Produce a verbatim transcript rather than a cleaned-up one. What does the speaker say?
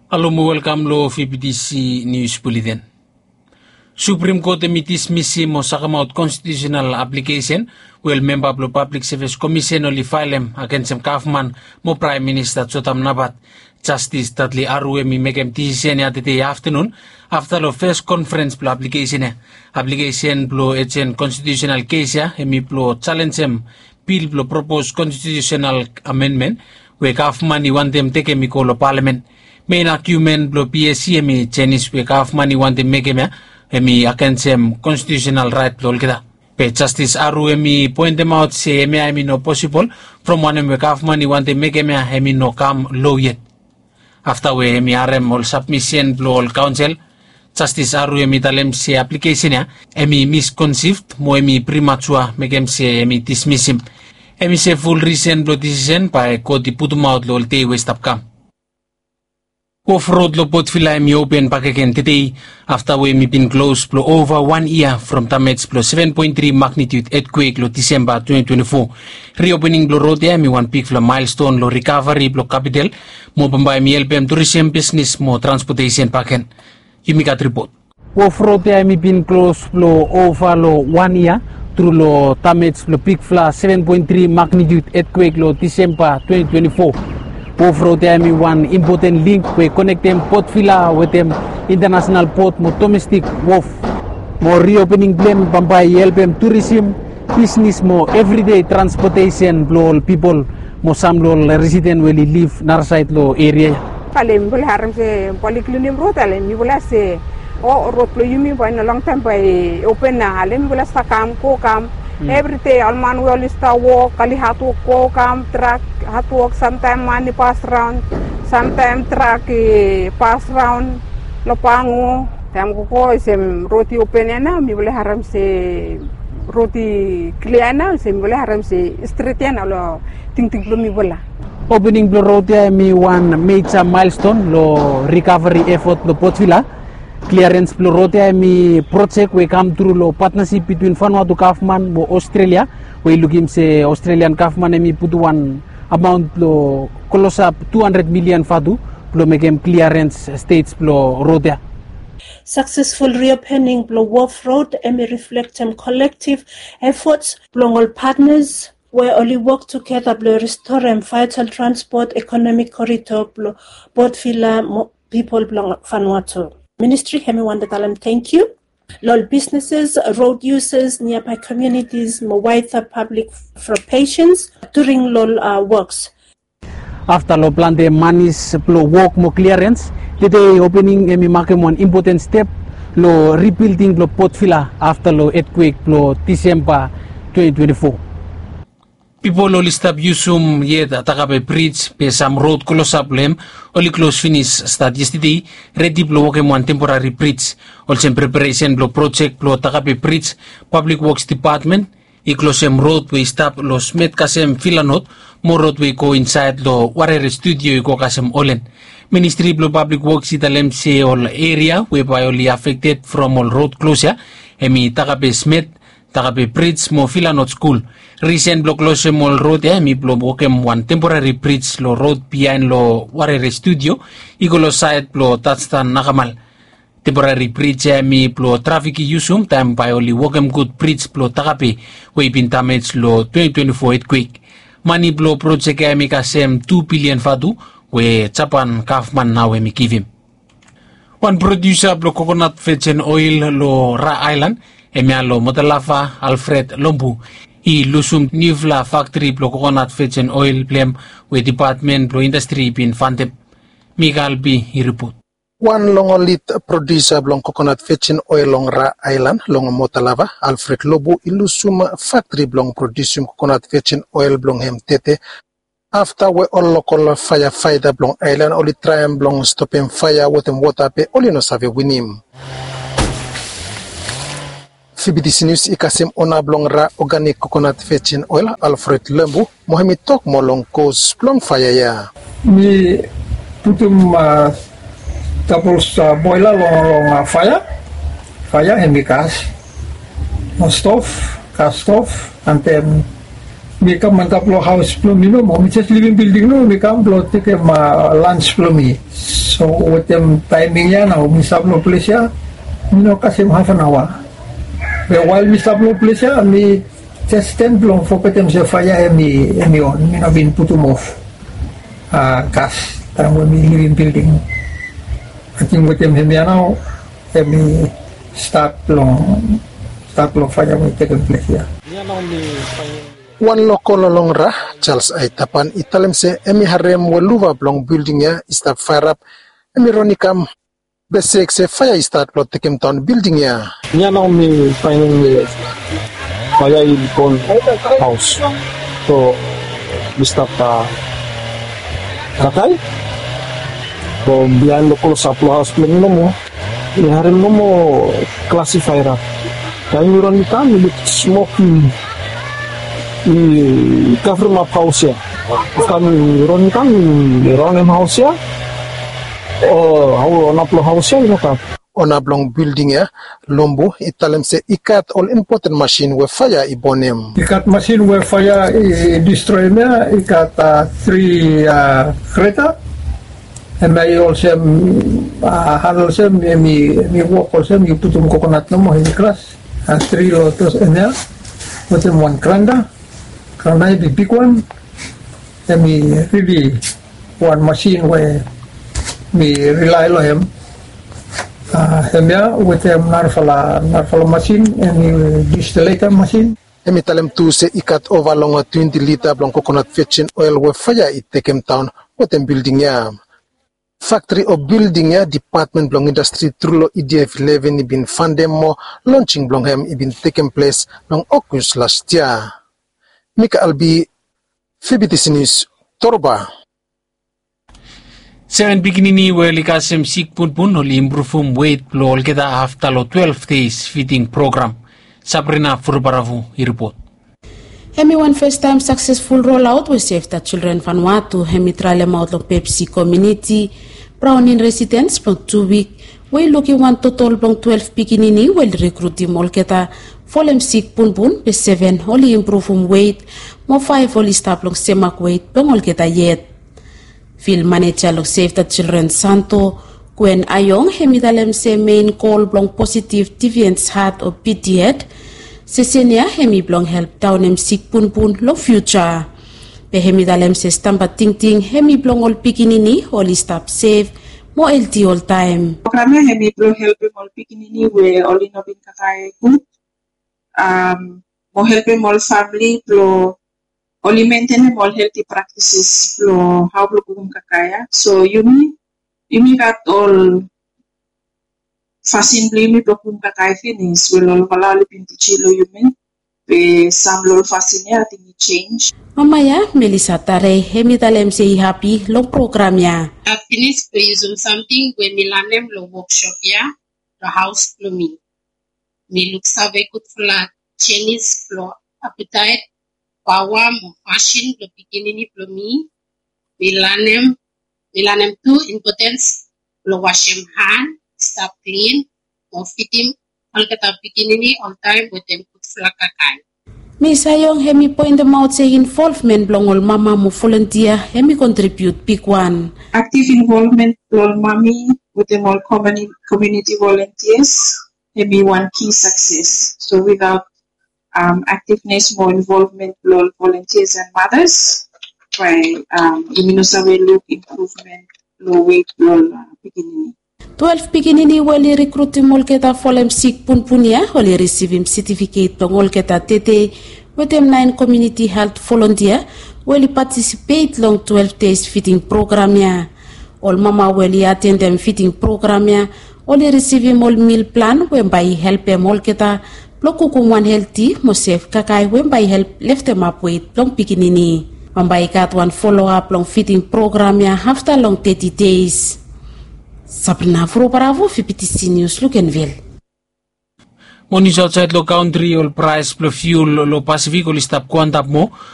Alo mo welkam lo V B T C News Bulletin. Suprim Kot hem i dismisim mo sakemaot konstitiusenal aplikesen we ol memba blo Pablik Sevis Komisen oli faelem agensem gavman mo Praem Minista Jotam Napat. Jastis Datli Aru hem i mekem disisen ya tede aftenun afta lo fes konferens blo aplikesen ya. Aplikesen blo ejen konstitiusenal kes ya hem i blo jalenjem bil blo propos konstitiusenal amendmen we gavman i wantem tekem i go lo palamen. Mein agiumen blo PSC hem i jenis we gavman i wantem mekem ya hem i agensem konstitiusenal raet blo olgeta. Be Jastis Aru hem i poentemaot se hemia hem i no posibol from wanem we gavman i wantem mekem ya hem i no kam lo yet. Afta we hem i harem ol sabmisen blo ol kaonsel, Jastis Aru hem i talem se aplikesen ya hem i miskonsivd mo hem i primatua mekem se hem i dismisim. Hem i se ful risen blo disisen bae God i putumaot lo ol dei we i stap kam. Wof rod lo Port Vila hem i open bakegen tede afta we hem i bin klos blo ova wan yia from damej blo seven point three magnitude etkwek lo Disemba twenty twenty-four. Riopening blo rod ya hem i wan bigfala maelston lo rikavari blo kapital mo bambae hem i helpem turisem bisnis mo transpotesen bakegen. Yumi gat ripot. Wof rod ya hem i bin klos blo ova lo wan yia tru lo damej blo bigfala seven point three magnitude etkwek lo Disemba twenty twenty-four. Wof rod ya hem i wan impoten link we i konektem Port Vila wetem intanasenal pot mo domestik wof. Mo riopening blo hem bambae i helpem turisem, bisnis mo evridei transpotesen blo ol pipol mo sam lo ol residen we oli liv narasaed lo eria ya. Ale mifala harem se bae oli klinim rod, ale mifala se o rod blo yumi bae long taem bae open nao, ale mifala stap kam go kam. Evridei ol man we oli stap wok, oli hadwok go kam, trak hadwok, samtaem man i pas raon, samtaem trak i pas raon lo Pangu. Taem gogo olsem rod i open ya nao, mifala harem se rod i klia ya nao, olsem mifala harem se stret ya nao lo tingting blo mifala. Opening blo rod ya hem i wan meja maelston lo rikavari efot blo Port Vila. Kliarens blo rod ya hem i projek we i kam tru lo patnasip bitwin Vanuatu gavman mo Ostrelia, we i lukim se Ostrelian gavman hem i putum wan amaon blo klosap tu handred milian vatu blo mekem kliarens stej blo rod ya. Saksesful riopening blo wof rod hem i riflektem kolektiv efots blong ol patnas we oli wok tugeta blo ristorem vaetal transpot ekonomik korito blo Port Vila mo pipol blong Vanuatu. Ministri hem i wantem talem tangkiu lo ol bisneses, rod yusas, niabae komiunitis mo waeda pablik fo pesens during lo ol woks. Afta lo plante manis blo wok mo kliarens, tede opening hem i makem wan impoten step lo ribilding blo Port Vila afta lo etkwek blo Disemba twenty twenty-four. Pipol oli stap yusum yet Takape Brij, be sam rod klosap lo hem oli klos finis stat yestede, redi blo wokem wan temporari brij. Olsem preparesen blo projek blo Takape Brij, Pablik Woks Depatmen i klosem rod we i stap lo Smet kasem Vila Not mo rod we i go insaed lo Warere Studio i go kasem Olen. Ministri blo Pablik Woks i talem se ol eria we bae oli afekted from ol rod klos ya hem i Takape Smet, Takape Brij mo Vila Not Skul. Risen blo klosem ol rod ya hem i blo wokem wan temporari brij lo rod biaen lo Warere Studio i go lo saed blo Tadstan Nakamal. Temporari brij ya hem i blo trafik i yusum taem bae oli wokem gud brij blo Takape we i bin damej lo twenty twenty-four etkwek. Mane blo projek ya hem i kasem tu bilian vatu we Japan gavman nao hem i givim. Wan prodiusa blo kokonat vejen oel lo Ra Aelan, hemia lo Motalava, Alfred Lombu, i lusum niufala faktri blo kokonat vejen oel blo hem we Depatmen blo Indastri i bin fantem. Mika Albi i ripot. Wan long ol lid prodiusa blong kokonat vejen oel long Ra Aelan long Motalava, Alfred Lobu, i lusum faktri blong prodiusim kokonat vejen oel blong hem tede afta we ol lokol faeafaeta blong aelan oli traem blong stopem faea wetem wota be oli no save winim. Fibidis Nius i kasem ona blong Ra Oganik Kokonat Vejen Oel, Alfred Lembu, mo hemi tok moa long kos blong faea ya. Mi putum, a, tapol, a, boela long, long, a, faea. Faea hemi gas. Long stov, gas stov, and then Mi kam antap long haos blong mi nomo, mi jes livim bilding nomo, mi kam blong tekem lans blong mi. So wetem taeming ya nao mi stap long ples ya, mi no kasem haf an aoa. Be wael mi stap long ples ya, mi jes sten blong fogetem se faea hem i hem i on, mi no bin putum of gas taem we mi livim bilding. Ating wetem hem ya nao hem i stat long stat long faea we i tekem ples ya. Wan lokol long Ra, Charles Aitapan, i talem se hem i harem we luva blong bilding ya i stap faerap, hem i ron i kam, be sek se faea i stat blong tekem daon bilding ya. Nia nao mi faenem we faea i bon haos. So mi stap kakae from biaen long klosap long haos blong mi nomo. Mi harem nomo klasifae rap. Taem mi ron mi kam mi luk smok i i kavremap haos ya. Afta mi ron mi kam mi raonem haos ya. O hao ona blong haos ya i no kam. Ona blong bilding ya, Lombu, i talem se i gat ol impoten masin we faea i bonem. I gat masin we faea i distroem ya, i gat tri greta. Hem ya i olsem, han olsem hem i wok olsem yu putum kokonat nomo hem i kras. Tri lotos hem ya wetem wan granda. Granda i big bigwan. Hem i rili wan masin we mi rilae long hem. Hem ya wetem narafala narafala masin hem i distileta masin. Hem i talem tu se i gat ova long twenti lita blong kokonat vejen oel we faea i tekem daon wetem bilding ya. Faktri o bilding ya dipatmen blong indastri tru long E D F eleven i bin fandem mo lonsing blong hem i bin tekem ples long Ogos las yia. Mika Albi, Fibitisi Nius, Toroba. Seven pikinini we oli kasem sik punpun oli impruvum wet blong olgeta afta long twelve days fiding program. Sabrina Furubaravu i ripot. Hem i wan fastaem saksesful rolaot we Save the Children Vanuatu hem i traelemaot long Pepsi komuniti, Browning residens blong tu wik, we i lukim wan totol blong twelve pikinini we oli rikrutim olgeta folem sik punpun be seven oli impruvum wet mo faef oli stap long semak wet blong olgeta yet. Fil maneja long Save the Children Santo, Gwen Ayong, hem i talem se mein gol blong positiv diviens hat o P D Ed sesen ya hem i blong help daonem sik punpun long fiuja. Be hem i talem se stamba tingting hem i blong ol pikinini oli stap sef mo elti oltaem. Program ya hem i blong helpem ol pikinini we oli no bin kakae gud, mo helpem ol famili blong oli mentenem ol helti praktisis blong hao blong kukum kakae ya. So yumi yumi gat ol fasin blong yumi blong kukum kakae finis we ol olfala oli bin tijim long yumi. Be sam long ol fasin ya ating i jenj. Mama ya, Melisa Tare, hem i talem se i hapi long program ya. Hap finis blong yusum samting we mi lanem long woksop ya long haos blong mi. Mi luksave gudfala jenis blong apitaet, paoa mo fasin blong pikinini blong mi. Mi lanem mi lanem tu impotens blong wasem han, stap klin mo fidim olgeta pikinini oltaem wetem gudfala kakae. Mis Ayong hem i poentemaot se involvmen blong ol mama mo volontia hem i kontribiut bigwan. Aktiv involvmen blong ol mami wetem ol komuniti volontias hem i wan ki sakses. So witaot aktivnes mo involvmen blong ol volontias and matas, bae yumi no save luk impruvmen long wet blong ol pikinini. Twelve pikinini we oli rikrutim olgeta folem sik punpun ya oli risivim setifiket blong olgeta tede wetem naen komuniti helt volontia we oli patisipet long twelve days fiding program ya. Ol mama we oli atendem fiding program ya oli risivim ol mil plan we bae i helpem olgeta blong kukum wan helti mo sef kakae we bae i help leftemap wet blong pikinini. Bambae i gat wan foloap long fiding program ya afta long teti deis. Sabrina Furobaravu, Fibitisi Nius, Lukenvil. Mo nius aotsaed long kantri, ol praes blong fiul long Pasifik oli stap go antap moa.